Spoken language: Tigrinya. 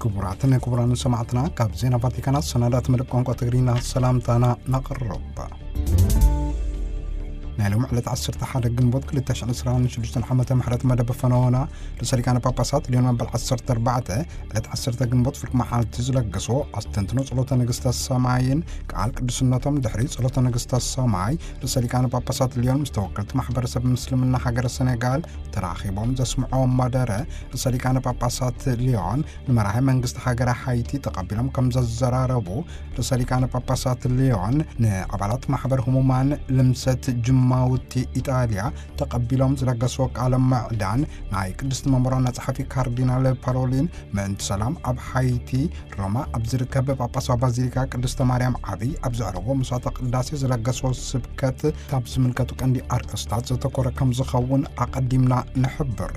ክቡራትን ክቡራን ሰማዕትና፣ ካብ ዜና ቫቲካናት ሰናዳት መደብ ቋንቋ ትግርኛ ሰላምታና ነቕርብ። ናይ ሎም ዕለት ዓሰርተ ሓደ ግንቦት ክልተ ሽሕን ዕስራን ሽዱሽተን ዓመተ ምሕረት መደብ ፈነወና ርእሰ ሊቃነ ጳጳሳት ሊዮን መበል ዓሰርተ ኣርባዕተ ዕለት ዓሰርተ ግንቦት ፍርቂ መዓልቲ ዝለገሶ ኣስተንትኖ ጸሎተ ንግስተ ሰማይን ቃል ቅዱስነቶም ድሕሪ ጸሎተ ንግስተ ሰማይ ርእሰ ሊቃነ ጳጳሳት ሊዮን ምስ ተወከልቲ ማሕበረሰብ ምስልምና ሃገረ ሰኔጋል ተራኺቦም ዘስምዕዎ መደረ ርእሰ ሊቃነ ጳጳሳት ሊዮን ንመራሒ መንግስቲ ሃገረ ሃይቲ ተቐቢሎም ከም ዘዘራረቡ ርእሰ ሊቃነ ጳጳሳት ሊዮን ንኣባላት ማሕበር ህሙማን ልምሰት ጅማውቲ ኢጣልያ ተቐቢሎም ዝለገስዎ ቃለ ምዕዳን ናይ ቅድስቲ መንበሮና ጸሓፊ ካርዲናል ፓሮሊን ምእንቲ ሰላም ኣብ ሃይቲ ሮማ ኣብ ዝርከብ ጳጳሳዊ ባዚሊካ ቅድስተ ማርያም ዓብይ ኣብ ዘዕረጎ ምሳተ ቅዳሴ ዝለገስዎ ስብከት ካብ ዝምልከቱ ቀንዲ ኣርእስታት ዘተኮረ ከም ዝኸውን ኣቐዲምና ንሕብር።